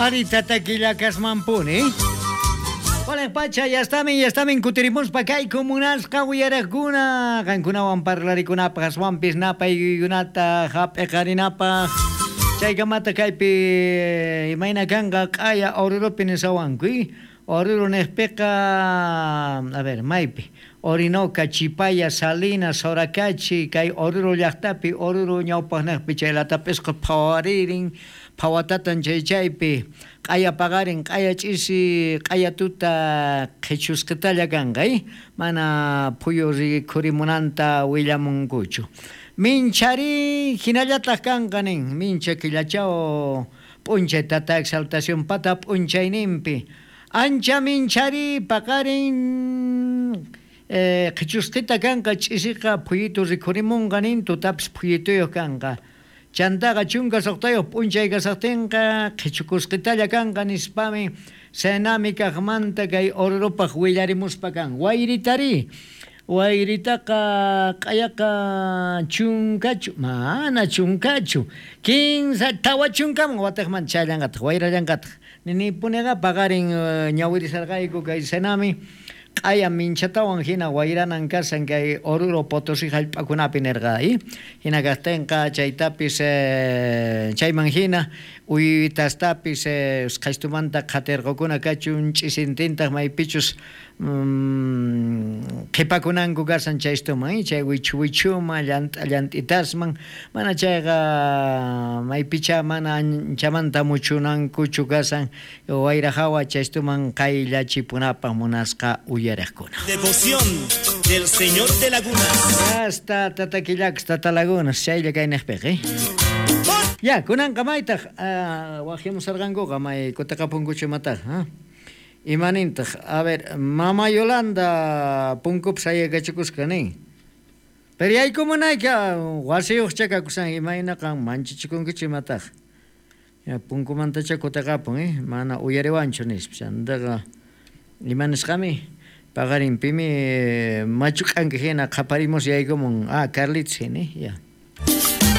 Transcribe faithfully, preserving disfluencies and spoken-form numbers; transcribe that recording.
Ari tatakillakasmanpuni. Hola pacha, ya estamin, ya estamin kutirimuspa kay munasqa uyaraqkuna qankunawan parlarikunapaq aswanpis napaykunata hap'iqarinapaq chaykamata kaypi imayna kanqa q'aya Oruropi nisawanku Oruro niqpiqa a ver maypi Orinoca, Chipaya, Salinas, Soracachi kay Oruro llaqtapi Oruro ñawpaqniqpi chaylatap'isqa phawaririn phawatatan chay chaypi q'aya paqarin q'aya ch'isi q'aya tuta qhichusqitalla kanqa mana phuyu rikhurimunanta willamunkuchu minchari hinallataq kanqa nin mincha killachaw p'unchay tata exaltación pata p'unchayninpi ancha minchari paqarin qhichusqita kanqa ch'isiqa phuyitu rikhurimunqa nin tutapis phuyituyuq kanqa chantaqa chunka suqtayuq p'unchay kasaqtinqa qhichukusqitalla kanqa nispami Senami kaqmanta kay Orurupaq willarimuspa kan wayritari wayritaqa q'ayaqa chunkachu mana chunkachu kinsa tawa chunkaman wataqmanta chayllanqataq wayrallanqataq ninipuniqa paqarin ñawirisarqayku kay Senami q'aya minchatawan hina wayranan kasan kay Oruro Potosí hallp'akunapi nirqa hina kaqtinqa chaytapis chayman hina uytastapis usqhaystumanta qhatirqukuna kachun ch'isintintaq maypichus qhipakunanku kasan chaystuman chay wichu wichuma llant'a llant'itasman mana chayqa maypicha mana anchamanta muchunankuchu kasan wayra hawa chaystuman qayllachipunapaq munasqa uyariqkuna. Devoción del Señor de Lagunas. Hasta Tataquillax, Tata Lagunas, chaylla kayniqpiq, eh? Ya, kunanqa maytaq wajimusarqankuqa may kutaqapunkuchu imataq, ha? Imanintaq, a ver, Mama Yolanda punkupi sayakachikusqa nin. Pero yaykumunayka wasiyuqcha kakusan imaynaqa manchachikunkichu imataq. Ya punkumantacha kutaqapun, eh? Mana uyariwanchu nispa. Chantaqa imanisqami paqarinpimi machu k'anka hina qhaparimus yaykumun. Ah, Carlitos hina, ya.